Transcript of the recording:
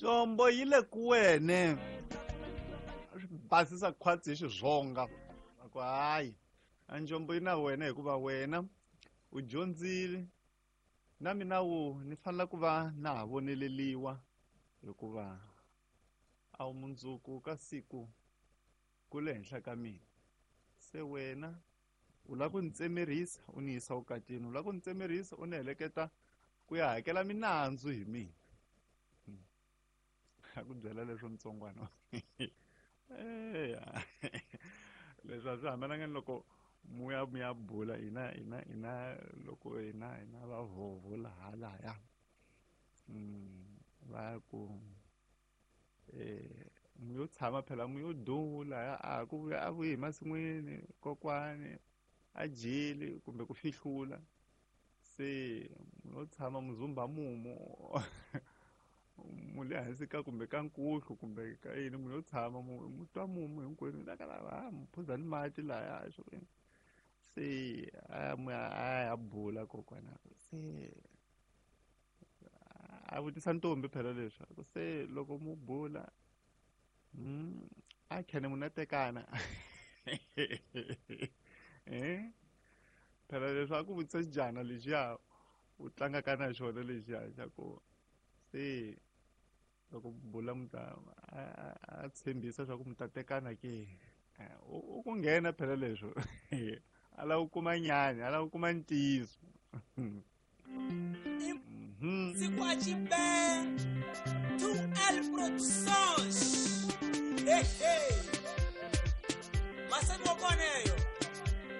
Njombo yi le ku wene. A swi basisa khwatsi hi xizonga. A ku hayi, a njombo yi na wena hikuva wena u dyondzile na mina wu ni fanele ku va na ha voneleliwa hikuva a wu mundzuku ka siku ku le henhla ka mina. Se wena u lava ku ni tsemerisa u ni yisa vukatini, u lava ku ni tsemerisa u ni heleketa ku ya hakela minandzu hi mina. A ku byela leswo ntsongwana. Eya. Leswi a swi hambananga ni loko muya muya bula hina hina hina loko hina hina va vhovho laha lahaya. Va ku mu yo tshama phela mu yo dula a ku vuya a vuyi hi masin'wini kokwani a jeli kumbe ku fihlula se mu yo tshama muzumba mumu mu le hansi ka kumbe ka nkuhlu kumbe ka yini mu yo tshama mu twa mumu hinkwenu la ka lava mu phuza ni mati laya swo se a mu a ya bula kokwana se a vutisa ntombi phela leswi se loko mu bula a khene mu na tekana phela leswi a ku vutisa xijana lexiya u tlangaka na xona lexiya xa ku se loko bula mu ta a tshembisa swa ku mu ta tekana ke u ku nghena phela leswo a lava ku kuma nyani a lava ku kuma ntiyiso. Sikwachibé, 2L Productions. Hey, hey. Masani wa kona yo.